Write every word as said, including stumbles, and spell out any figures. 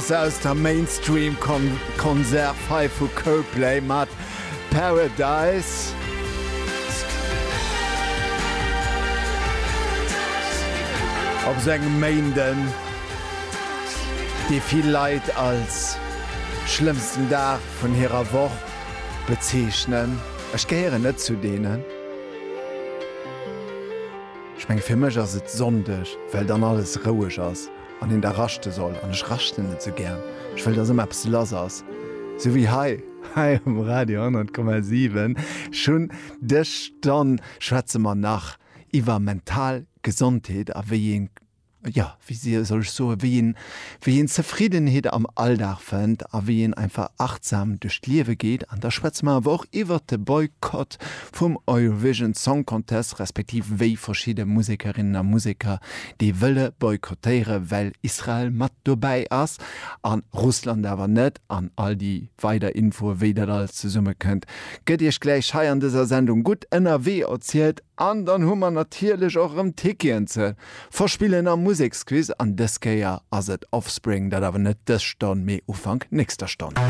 Aus der Mainstream-Konserv hei vu Coldplay mat Paradise. Op esou engem Méinden, dee vill Leit als schlëmmsten Dag vun hirer Woch bezeechnen. Ech gehéieren net zu deenen. Ech menge fir mech ass et Sonndeg, well dann alles roueg ass an een da raschte soll. An ech raschten net sou gär. Ech wëll, dass ëmmer eppes lass ass. Sou wéi hei, hei um Radio honnert Komma siwen. Schonn dës Stonn schwätze mer nach iwwer mental Gesondheet a wéi een, jo, wéi soll ech soen, wéi een, wéi een Zefriddenheet am Alldag fënnt a wéi een einfach achtsam duerch d'Liewe geet. An da schwätze mer awer och iwwert de Boykott vum Eurovision Song Contest, respektiv wéi verschidde Musekerinnen a Museker dee wëlle boykottéiere well Israel mat dobäi ass a Russland awer net. An all déi weider Infoe wéi dat alles zesummekënnt, gëtt iech gläich hei an dëser Sendung Gutt ënnerwee erzielt. An dann hu mer natierlech och erëm Ticketen ze verspillen am Museksquiz an dës Kéier ass et Offspring, dat awer net dës Stonn, mee Ufank nächster Stonn.